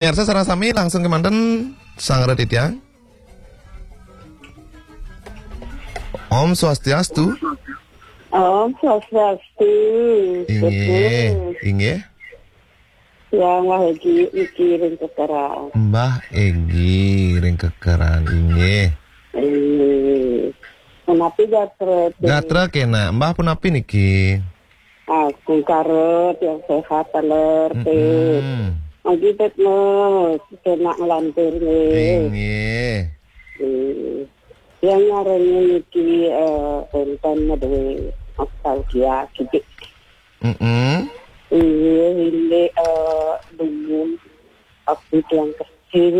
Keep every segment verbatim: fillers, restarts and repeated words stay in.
Pemirsa sareng sami langsung kemanten sareng titiang. Om Swastiastu. Om Swastiastu. Inggih, inggih. Yang Wah Egi niki ring kekeran. Mbah Egi ring kekeran, inggih. Inggih. Punapi gatra, Ti? Gatra kenak, Mbah punapi niki? Ah, kungkara tiang sehat taler, Ti. Mm-mm. Agi tet no, kenak nglantur nggih. Inggih. Hmm. Yang ngarannya niki, eh, wonten madue nostalgia kidik. Mm-mm. Iya, ini, eh, dumun abdi tiang kecil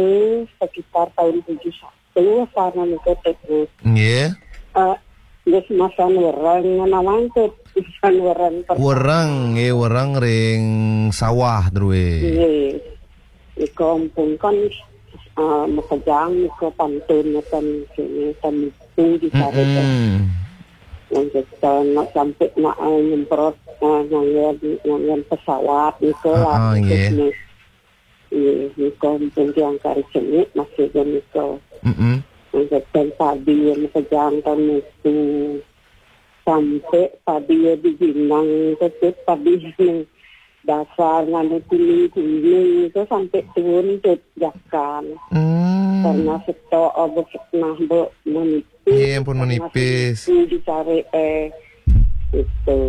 sekitar tahun tujuh satu, sana nika Tet. Nggih. Eh, nggih, masan wereng, nawang Tet, masan wereng per- Wereng, nggih, wereng ring sawah, drue. Nggih. Nika ampun kan, eh, makejang nika pantun ten sini, ten itu di sana. Mm-mm. Yang kita nak sampai nak, eh, nyemprot, eh, nyanyian, nyanyian pesawat nika lah, ah, nggih. Iya, nika ampun tiang kari seni masih nika. Mm-mm. Yang kita padi yang makejang ten itu. Sampai padi ya di Ginang, tetep padi yang dasar nganu kuning-kuning itu sampai turun ke jakan. Hmm. Karena setok abis nah be menipis. Iya, ampun, karena menipis. Itu dicari, eh, itu.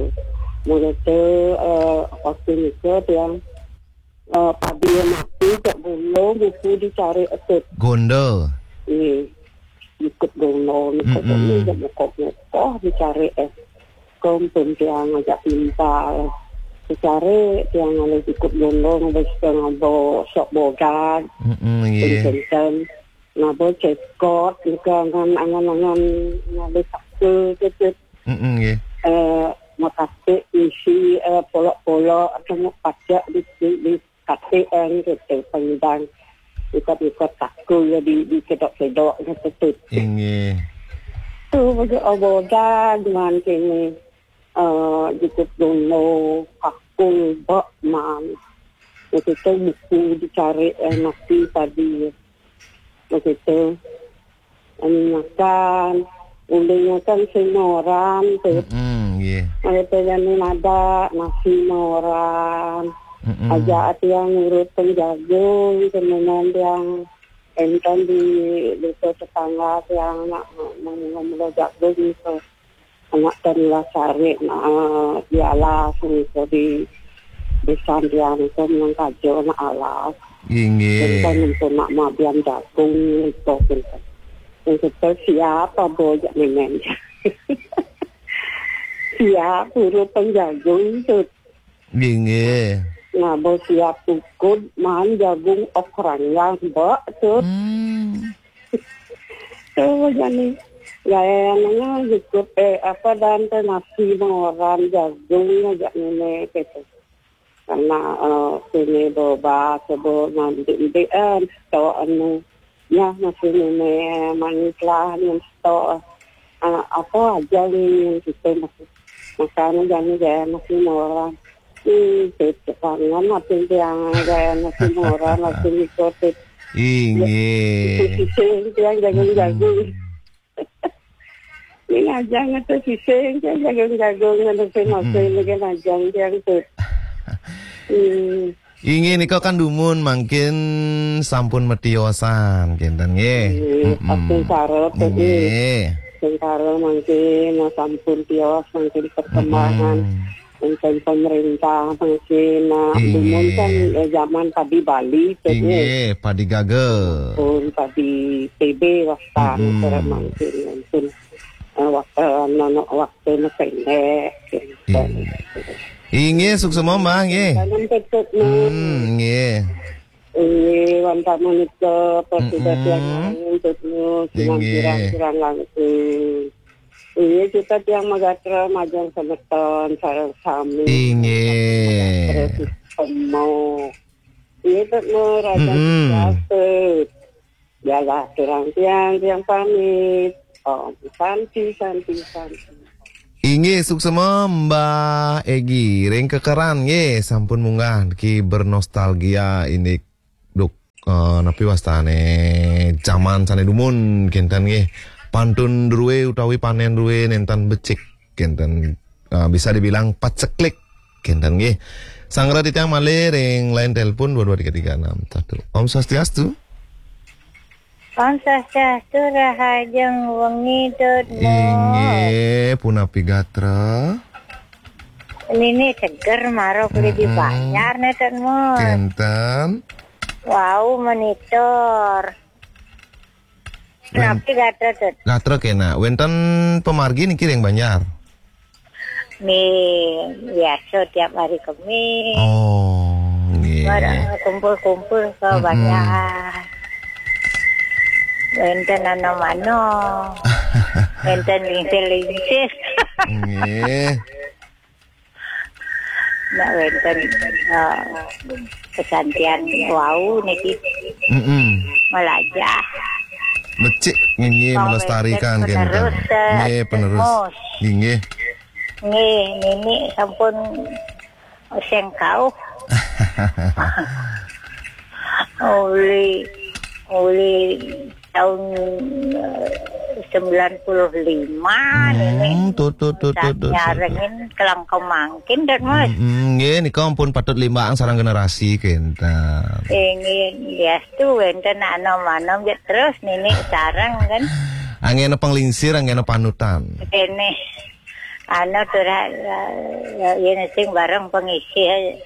Mulai itu, eh, waktu itu tiang, eh, padi yang mati, cak bulu, buku dicari etut. Gondol. Iya. Ikut gondol, ikut, mm-mm, gondol, ikut mukok-mukok, dicari, eh, kompon tiang ajak timpal. Dicari tiang alih ikut gondol, ngabis tiang ngabo sok bogan. Mm-mm, iya. Kenten. Ngabo cekot, nika angan, angan-angan ngalih saka, cecet. Mm-mm, nggih. Eh, makatik isi, eh, polok-polok, atau pacak di, di, di Kate eng gitu, pengidang. Ikut-ikut kaku ya di, di kedok-kedok gitu, Tet. Inggih. Tu baju obodan man kini. Eh, jikut dono, kaku, bak man. Gitu tu buku dicari, eh, nasi tadi. Gitu. Anu makan, uling makan sing moran tu. Mm-mm, nggih. Ada tu jani nada, nasi moran. Mm-mm. Aja tiang ngurut penjagung, kemudian tiang enten di desa tetangga tiang nak ngomong jagung tu. Anak ten lah sare, nah, di alas, niko di, di sambian niko menang kajo, nak alas. Inggih. Enten niko nak mabian jagung, niko, niko. Niko siap, abo jak nemen. Siap, urut penjagung tu. Inggih. Nah, bo siap ukud, man jagung okrang yang bak tu. Hmm. Tuh, jani. Gaya nanya cukup, eh, apa, dan teh nasi moran jagung aja ngene gitu. Karena, eh, sini boba, sebo nanti, nanti, eh, sto anu, ya, nasi ngene manis lah, yang sto, eh, apa aja nih, yang gitu, masih. Makanya jani gaya nasi moran. Hmm, cocok banget, nanti yang gaya nasi moran, nanti ngikutin. Inggih. Sisih tiang jagung-jagung. Hmm. Ini ajang itu sisih tiang jagung-jagung, ada sing masih, hmm, lagi ajang tiang tu. Hmm. Inggih, nika kan dumun mangkin sampun matiosan, kinten nggih. Nggih, mm-mm, sing sarep, inggih. Sing sarep mangkin, nah, sampun tios, mangkin perkembangan. Mm-mm. Enten pemerintah mangkin, nah, inggih, dumun kan, eh, zaman padi Bali, tu, inggih, padi gaga. Pun padi T B wastan, mm-mm, sareng mangkin, pun, eh, wak-, eh, nono waktu nu pendek, gitu. Inggih. Inggih, suksema, Mbah, nggih. Tanam tetep, nah. Hmm, nggih. Inggih, wantah menika, persudah, mm-mm, tiang langsung, tetep, inggih, kirang-kirang langkung. Iya, kita tiang magatra majeng semeton sareng sami. Inggih. Magatra sesama. Iya, Tet, no, Raja, mm-mm, Raja, Tet. Yalah, kirang tiang, tiang pamit. Om Santi, Santi, Santi. Inggih, suksema Mbah Egi ring kekeran nggih, sampun munggah ki bernostalgia indik duk eh, napi wastane, jaman sane dumun kenten nggih. Pantun druwe utawi panen druwe nenten becik kenten, eh, bisa dibilang paceklik kenten nggih. Sanggra titiang malih ring line telepon dua dua tiga tiga enam satu. Om Swastiastu. Om Swastiastu, rahajeng wengi, Tut Mo. Inggih, punapi gatra? Nini seger mara kulit di Mm-mm. Banjar ne, Tut Mo. Kenten. Wau monitor. Wen- Punapi gatra, Tut? Gatra kena. Wenten pamargi niki ring Banjar? Nih, biasa tiap hari Kemis. Oh, nggih. Bareng kumpul-kumpul ke Mm-mm. Banjar. Wenten anom-anom. Wenten lingsir-lingsir. Nggih. Nak wenten, eh, kesantian wau niki. Mm-mm. Melajah. Becik nggih, wau melestarikan wenten kenten. Penerus, eh, nggih, penerus. Mus. Nggih. Nggih, nini sampun sengkauh. Uli, uli tahun, eh, sembilan puluh lima, hmm, nini. Tut, tut, tut, tut, tut, tut. Nyarengin kelang kemangkin, Tut Mo. Hmm, nggih, nika ampun patut limbak sareng generasi kenten. Inggih, diastu wenten anom-anom ya terus nini sareng kan. Anggena panglingsir, anggena panutan. Kene. Anu tuh, ra-, ra-, ra-, yen sing bareng pengisi aja.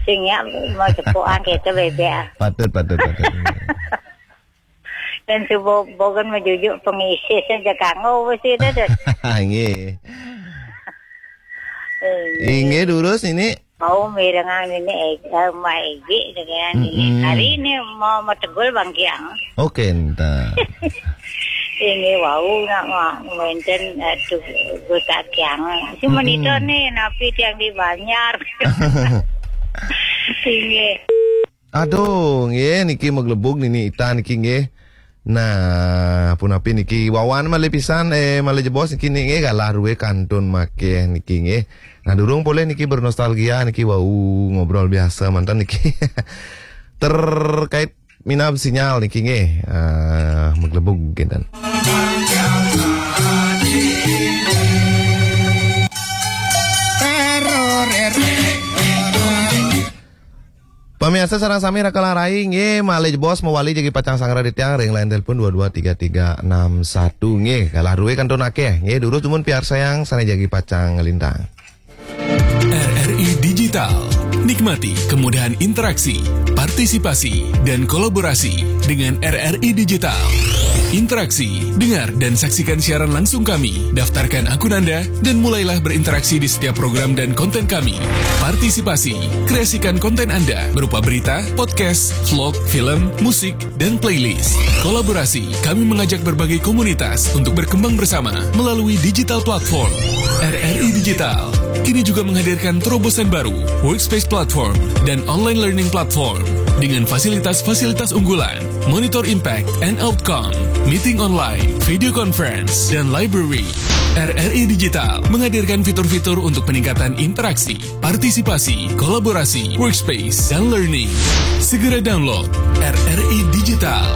Sing ya mau cepukan kita bebek. Patut, patut, patut. Dan subuh bogan mejujuk pengisi saja kanggo besi itu tuh. Nggih. Eh, inggih, durus ini. Mau mirengang ini, eh, eh, Mbak Egi dengan ini. Mm-mm. Hari ini mau metegul Bang Kiang. Oke, entar. Ini wau nak ma-, wenten, aduh, Gus Akyang. Si Mm-mm. Monitor nih, napi tiang di Banjar. Inggih. Aduh, nggih, niki maglebug nini ita niki nggih. Nah, punapi niki wawan malih pisan, eh, malih jebos niki nggih, galah rue kantun makeh niki nggih. Nah, durung polih niki bernostalgia niki wau ngobrol biasa mantan niki. Terkait minab sinyal niki nggih, eh, maglebug kinten. Pamiarsa sareng sami raka larai nggih, malih jebos mawali jagi pacang sanggra di tiang ring line telepon dua dua tiga tiga enam satu nggih. Galah rue kantun akeh nggih, durus dumun piarsayang sane jagi pacang nglintang. R R I Digital. Nikmati kemudahan interaksi, partisipasi, dan kolaborasi dengan R R I Digital. Interaksi, dengar dan saksikan siaran langsung kami. Daftarkan akun Anda dan mulailah berinteraksi di setiap program dan konten kami. Partisipasi, kreasikan konten Anda berupa berita, podcast, vlog, film, musik, dan playlist. Kolaborasi, kami mengajak berbagai komunitas untuk berkembang bersama melalui digital platform. R R I Digital kini juga menghadirkan terobosan baru, Workspace Platform dan Online Learning Platform dengan fasilitas-fasilitas unggulan, monitor impact and outcome, meeting online, video conference, dan library. R R I Digital menghadirkan fitur-fitur untuk peningkatan interaksi, partisipasi, kolaborasi, workspace, dan learning. Segera download R R I Digital.